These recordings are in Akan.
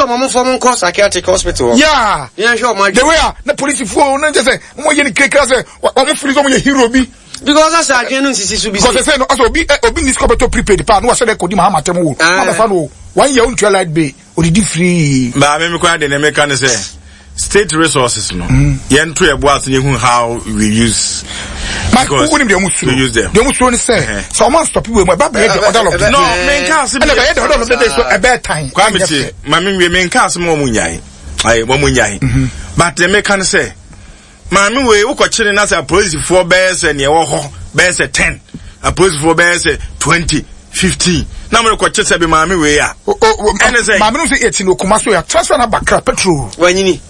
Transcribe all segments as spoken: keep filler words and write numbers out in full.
ɔmo ɔmo fɔ nkɔ psychiatric hospital hɔ. Yeah. Yɛn hwɛ ɔmo adwene. The way a na polisifoɔ no nkyɛ sɛ ɔmo yɛ ne kirakira sɛ ɔmo feel sɛ ɔmo yɛ hero bi. Because asa adwene no nsisi so bi. Because sɛ no ɔsɛ obi obi ni sika bɛtɔ prepaid paa no wahyɛ dɛ kɔdi Mahama tɛm wo. Ah. Wɔn abɛfa no one year ontua light bill, odidi free. Baa mi mi kora de ne meka ne sɛ state resources no, yɛn to yɛ bo ase yɛhu how we use. Mike, Because wonim deɛ ɔmo suro. we use them. Deɛ ɔmo suro ne sɛ sɛ ɔmo anstop wei mu, ɛba bɛyɛ the order of the No, day. menka ase ɛna bɛyɛ the order of the day so ɛbɛyɛ tan. Kwame Ɛnyɛ tie, fɛ. maame nwie, menka ase ma wɔn nyae, ayi wɔn nyae, but deɛ meka ne sɛ maame wei wokɔkyere na sɛ apolisifoɔ bɛyɛ sɛ nea ɛwɔ hɔ bɛyɛ sɛ ten, apolisifoɔ bɛyɛ sɛ twenty, fifteen na mo rekɔkye sɛ bi maame wei a O- o- o- ɛne sɛ maame no sɛ yɛkyi no okuma so yɛ transfer na bakra petrol. Wanyini.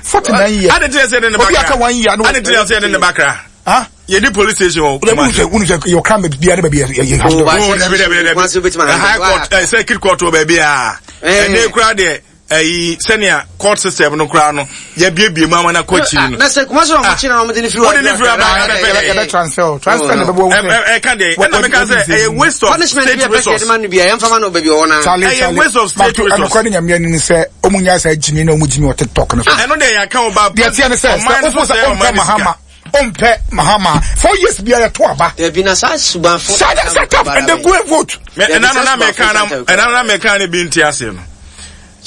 Forty nine years. Ade tiri sɛ yɛde ne Obi bakra aka one year no. Ade tiri sɛ yɛde ne bakra Ah. yɛdi police station wɔ Wọ́n Kumasi. sɛ wọ́n sɛ yɛ ɔkra mɛ biara ne baabi yɛ yɛ Oh, handle. ba- Oh, dabi, dabi, dabi. Kumasi wobɛtumi The high handle. court, eh, circuit court wɔ baabi a Eh. ɛnɛ kura deɛ, ɛyi sɛnea court system no kura no, yɛbiebie mu ama na kɔ akyiri no. Na sɛ Kumasi na ɔmo kyerɛ na ɔmo de ne firi hɔ. Wode ne firi aba, ɛbɛ- Yɛ bɛ transfer transfer na bɛ bɔ Ɛ- ɛ- ɛka deɛ ɛna meka sɛ ɛyɛ waste of Punishment bi state a pɛ sɛ resource. yɛde ma no bi a, yɛmfa ma no baabi ɔwɔ na. Charlie, Ɛyɛ Charlie. waste of state But resource. ɛnokora ne Nyame ani sɛ ɔmo nya sɛ gyimi na ɔmo gyimi wɔ TikTok no so. Ɛno deɛ yɛaka wo ba. Deɛ teɛ ne sɛ ɔman sɛ no wofo so sɛ sɛ ɔmpɛ ɔman no sika. Mahama, ɔmpɛ Mahama, four years biara yɛto aba. Dabi, na saa subanfo. Shut up, shut up and then go and vote. Me- ɛna no na meka na ɛna no na meka ne bi nte ase no,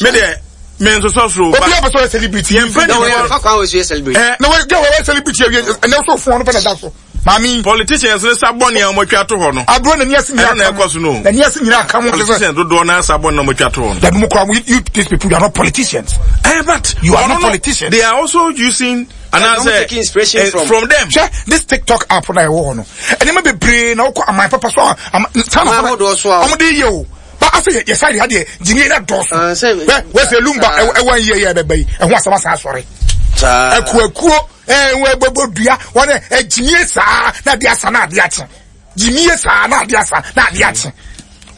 me deɛ me nsosɔ soro Obi ba a pɛ sɛ ɔyɛ celebrity. Yɛn mpɛ Na wɔyɛ fa kwan wɔ so yɛ celebrate. ɛ Na wɔyɛ wɔyɛ celebrity awie, ɛnɛ so fon no pɛ na da so. Maame Politicians ne sa bɔne a wɔatwa ato hɔ no. Aburo n'ani ase nyinaa Ɛno na ɛkɔ so no. N'ani ase nyinaa ka mo sɛ Politicians dodoɔ na sa bɔne na wɔatwa ato hɔ no. Dabi, mu kura mo, you these people, you are not politicians. Eh, but You are ɔno not no, politicians. they are also using anaasɛ taking inspiration eh, from- from them. Hwɛ this TikTok app na ɛwɔ hɔ no, ɛnneɛma bebree na wokɔ aman papa so a ama China Aman ahodoɔ so a- ɔmo de yɛ o ba afei yɛ yɛ side ha deɛ, gyimie na dɔɔso. Ah, sɛ- Hwɛ wɔsɛ Lumba Ah. ɛwɔ ɛwɔ yie yɛ ɛbɛba yi ɛho asɛm asan asɔre. Saa. Akuakuo ɛɛ wɔ ɛbɛbɔ dua wɔn ɛgyimie saa na ade asa na ade akye, gyimie saa na ade asa na ade akye.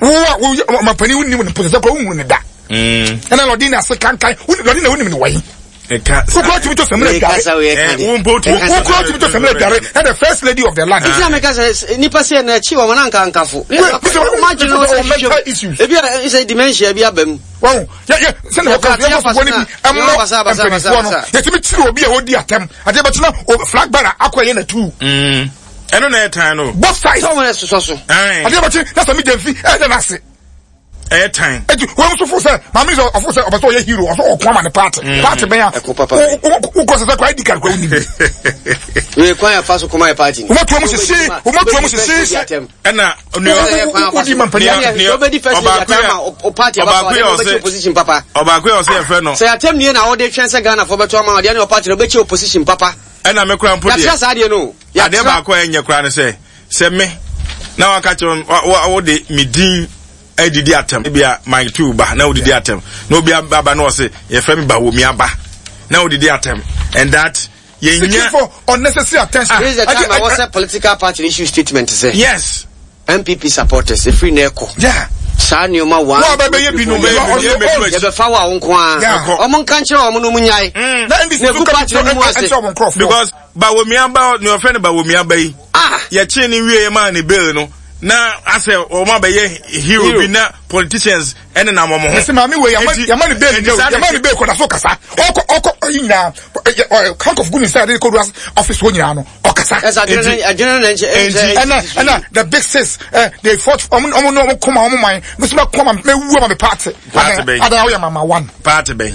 Wo a wo yɛ ɔmampanin, wo nim ne pɔsɛsɛ kora, wo hu ne da Mm. ɛna lɔdi na ase kankan wo lɔdi na wo nim ne wɔyi Ɛka wokura tumi to sɛmina Wei dware. kasa, wei Eh, ka deɛ. wo mpo tumi- Wokura tumi to sɛmina dware na the first lady of the land. Nti na meka sɛ nipa sɛ na akyi wɔn anka nkafo. Wait, Ɔmo adwene no sɛ mental hwehwɛ issues. ebi a sɛ dementia bi aba mu. Wɔn yɛ yɛ sɛnɛ wɔka Yɛ yɛ bɔ ne bi ɛmmɔ basa, basa, mpanyinfoɔ no basa. yɛtumi kyerɛ obi a ɔdi atɛm adeɛ bɛtena o flag bearer akɔ ɛyɛ na tu. Mm. ɛno na ɛyɛ no. Both sides. Sɛ ɔmo yɛ sosɔ so. Aye. Adeɛ bɛkye na sɛ mi gyɛnfi ɛyɛ n'ase. Ɛyɛ tan. Eti wɔn nso fo sɛ maame sɛ ɔfo sɛ ɔbɛ sɛ ɔyɛ hero, ɔsɛ ɔko ama ne party party bɛn a Ɛko papa. wokɔ sɛ sɛ kɔ I D card kɔ woni bi. Wei kwan yɛ fa so kɔma yɛ party ni. Wɔn tuo mu sisi, wɔn tuo mu sisi. Ɛna Wodi ma mpanyin. Nea- Wobɛdi first lady ɔbaako atam yɛ- a o party aba ɔbaako yɛ ɔde ɔsɛ- opposition papa. Ɔbaako yɛ ɔsɛ yɛfrɛ no Sɛ atam nie na wɔde twɛn sɛ Ghana fo bɛto ama ɔdeɛ ne ɔparty no wobɛkyɛ opposition papa. Ɛna me kora mpo Yɛatra deɛ saa deɛ no. adeɛ Yɛatra. baako a ɛnyɛ koraa ne sɛ sɛ me na waka kyerɛ wa- wa- wode me din adidi atɛm, ebi a Mike Two ba na wodidi atɛm, na obi aba na ɔse yɛfrɛ me Bawomi aba na wodidi atɛm and that Seeking yɛnya for unnecessary attention. This is the time Ade- a wɔsɛ political party issue statement sɛ yes N P P supporters efiri na ɛkɔ. Yeah. Saa nneɛma one. Wɔn a bɛbɛyɛ bi no, Bɛyɛ bi no, ɔno- yɛ bɛdu akyi. Yɛbɛfa wo a wo nko ara. Yeah. Ɔmo nka nkyerɛ ɔmo no mu nyae. Na N D C Na so egu ka party no mu ase. ɛnkyerɛ wɔn nkorɔfoɔ. Because Bawomi aba, nea ɔfrɛ no Bawomi aba yi, Ah. yɛkyee ne wie maa ne bail no na asɛ wɔn abɛyɛ hero Hero. bi na politicians ɛne nam wɔn ho. Ɛsɛ maame wei yamma Enti- yamma ne bail enti nyɛ o saa yamma de- ne bail kɔda so kasa, ɔkɔ ɔkɔ ɔyi nyinaa ɛ ɛ handcuff gu ne nsa yɛde kɔ do office hɔ nyinaa no ɔkasa. Ɛsɛ adwene no adwene no na nkyɛ Enti- ɛnkyɛ. ɛna ɛna the big six ɛ they fought, ɔmo ɔmo no ɔmo kɔma ɔmo man mesi ma kɔma mɛ wu ama mi party. Party bɛn? Adan awoyɛ mama one. Party bɛn?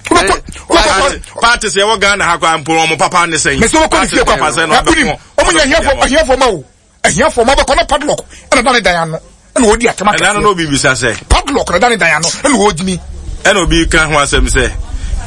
Wobɛkɔ Party wobɛkɔ party sɛ ɛwɔ Ghana ha kora mpo, ɔmo papa ne sɛn? Mesi wobɛkɔ ne fie kɔ papa sɛ na na wonim ɔmo nyɛ ahiafoɔ ahiafoɔ ma o ahiafoɔ ma wobɛkɔ na padlock ɛna da ne dan ano ɛna wɔdi atɛm ɛna no na akɛseɛ. Obi bisa sɛ Padlock na da ne dan ano ɛna wɔgyimi. Ɛna obi ka ho asɛm sɛ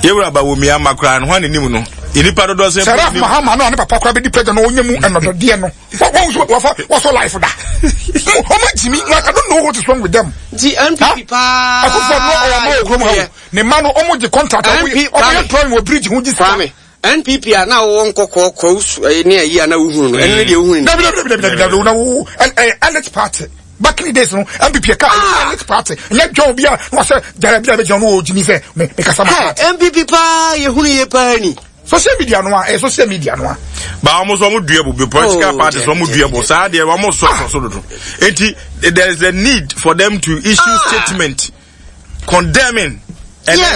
yɛwura Bawomi ama koraa no ho anenim no nnipa dodoɔ sɛ Sarah Mahama no a ne papa koraa bɛdi president no ɔnyɛ mu ɛnɔdɔdeɛ no wɔn nso wɔfa wɔsɔ life da ɔmo gyimi. Like, I don't know what is wrong with them. Nti N P P paa. Akufo no ɔwɔ ama wɔ kurom ha o ne mma no ɔmo gye contract ɔmo yɛ N P ɔmo yɛ Kwame. drawing wɔ bridge ho gye sika. Kwame, N P P a na wɔwɔ nkɔkɔɔ kɔɔ ne ayi a na wohunu no, ɛno ne deɛ wohunu no. Dabi, dabi, dabi, dabi, dabi, na wo ɛ ɛ elite party. Back in the days no, N P P ka elite party nyɛ dɔn bi a na wɔsɛ jara bi a bɛ gyina no wɔ gyimi sɛ mɛ mɛ kasa ma Hɛ, party. N P P paa yɛhunu yie paa ni. Social media no a ɛyɛ social media no a. Ba ɔmo nso ɔmo dua bo bi political Oh, parties ɔmo dear, dua bo saa deɛ ɔmo sɔ sɔ so dodo, eti there is a need for them to issue Ah. statement condemning and Yes.